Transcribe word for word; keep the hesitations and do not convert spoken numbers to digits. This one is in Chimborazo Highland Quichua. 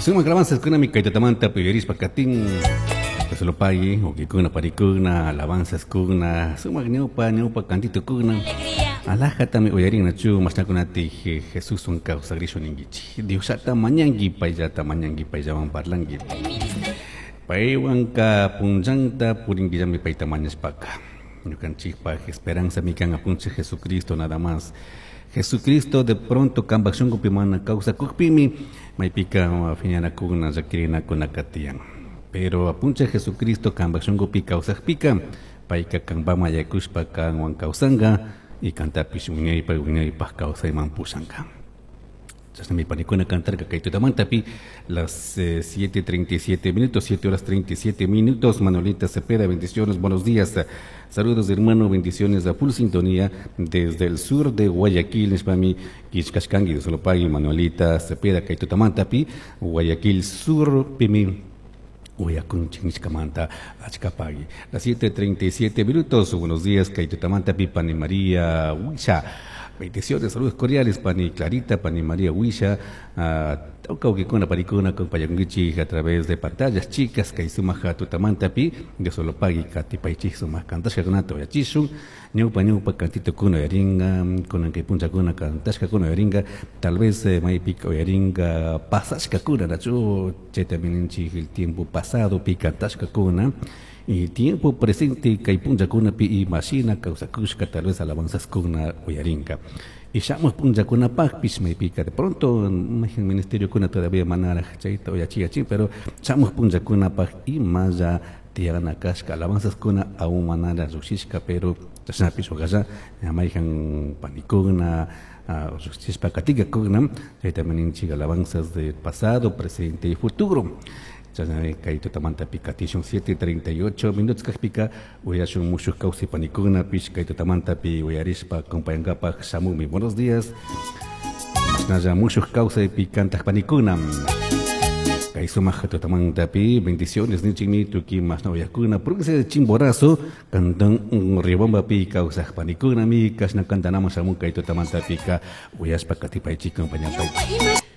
Sumak alabanzaskunami kay tutamanta uyarispa katin. Dios lo pague, wawaykuna panikuna, alabanzaskuna, sumak ñawpa ñawpa cantitokuna. Alajatami uyarinachu mashnakunati Jesuswan kawsagrishu ninkichik. Diosllata mañanki, payllata mañanki, payllawan parlanki. Paywanka punllanta purinkillami payta mañashpaka. Ñukanchikpaj esperanzami kan apunchik Jesucristo nada más. Jesucristo de pronto kanpak shunkupi mana kawsakukpimi maypika phiñanakuna llakirinakuna tiyan. Pero apunchik Jesucristo kanpak shunkupi kawsakpika payka kanpaman yaykushpa kanwan kawsanka y kantapish wiñaypak wiñaypak kawsayman pushanka. Chashnami panikuna cantarka kay tutamantapi las eh, siete treinta y siete minutos, siete horas treinta y siete minutos. Manuelita Cepeda, bendiciones, buenos días. Saludos, hermano, bendiciones a full sintonía desde el sur de Guayaquil, nishpami killkashkanki, Dios lo pague, Manuelita Cepeda, kay tutamantapi, Guayaquil Sur, pimi. Uyakunchik nishkamanta achkapagui. Las siete treinta y siete minutos, buenos días, kay tutamantapi, Pani María Huisha. Bendiciones, saludos cordiales, Pani Clarita, Pani María Huisha, tawka wawaykuna, panikuna, acompañankichik a través de pantallas chicas, kay sumaja tutamantapi, Dios lo pague, katipaychik sumak kantashkakunata uyachishun, ñawpa ñawpa cantitokuna uyaringa, kunan kay punchakuna kantashkakuna uyaringa, tal vez, eh, maypika uyaringa pasashkakuna, nachu, chaytami ninchik el tiempo pasado pi kantashkakuna, y tiempo presente kay punchakunapi imashina kawsakushka tal vez alabanzaskuna uyarinka. Y shamuj punchakunapajpish maypika de pronto mayjan ministerio kuna todavía manaraj chayta uyachiyachin, pero shamuj punchakunapaj imalla tiyana kashka alabanzaskuna aún manara llushishka, pero chashnapish ujalla mayjan panikuna llushishpa katikakuna, chaytami ninchik alabanzas del pasado, presente y futuro. Chashnami kay tutamantapi katishun siete treinta y ocho minutos kajpika uyashun mushuj kawsay panikunapish kay tutamantapi uyarishpa acompañankapaj shamukmi. Buenos días. Mashnalla mushuj kawsaypi kantaj panikuna. Kay sumak tutamantapi bendiciones nichikmi tukuy mashna uyakuna provincia de Chimborazo cantón Riobambapi kawsaj panikunami kashna kantanaman shamun kay tutamantapika uyashpa katipaychik acompañanpay.